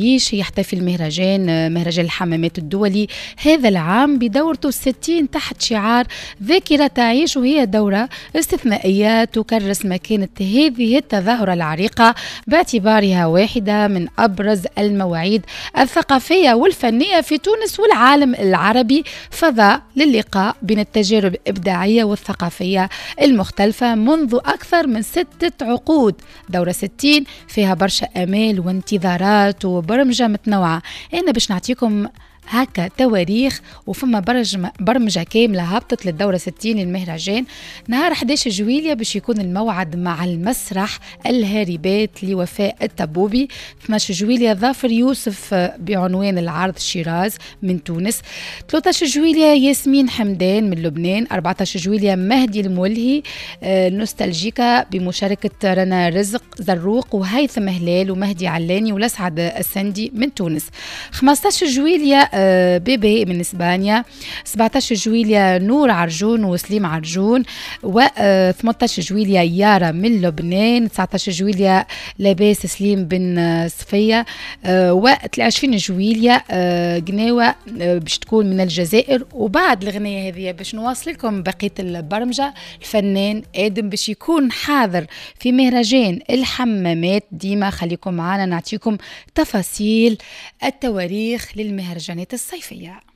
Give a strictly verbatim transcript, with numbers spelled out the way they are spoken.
تعيش. يحتفل المهرجان مهرجان الحمامات الدولي هذا العام بدورته الستين تحت شعار ذاكرة تعيش، وهي دورة استثنائية تكرس مكانة هذه التظاهرة العريقة باعتبارها واحدة من أبرز المواعيد الثقافية والفنية في تونس والعالم العربي، فضاء للقاء بين التجارب الإبداعية والثقافية المختلفة منذ أكثر من ستة عقود. دورة ستين فيها برشا آمال وانتظارات وبرمجة متنوعة. أنا باش نعطيكم هكا تواريخ، وفما برمجة كاملة هبطت للدورة ستين للمهرجان. نهار أحد عشر جويليا باش يكون الموعد مع المسرح الهاربات لوفاء التبوبي. اثنا عشر جويليا ظافر يوسف بعنوان العرض شيراز من تونس. ثلاثة عشر جويليا ياسمين حمدان من لبنان. أربعة عشر جويليا مهدي المولهي آه، نوستالجيكا بمشاركة رنا رزق زروق وهيثم هلال ومهدي علاني ولسعد السندي من تونس. خمسة عشر جويليا آه، بيبي من اسبانيا. سبعة عشر جويليا نور عرجون وسليم عرجون، و ثمنطاش جويليا يارا من لبنان. تسعطاش جويليا لاباس سليم بن صفية، و عشرين جويليا آه، قناوة آه، باش تكون من الجزائر. وبعد الغنية هذه باش نواصل لكم بقية البرمجة. الفنان آدم باش يكون حاضر في مهرجان الحمامات. ديما خليكم معنا نعطيكم تفاصيل التواريخ للمهرجانات الصيفية.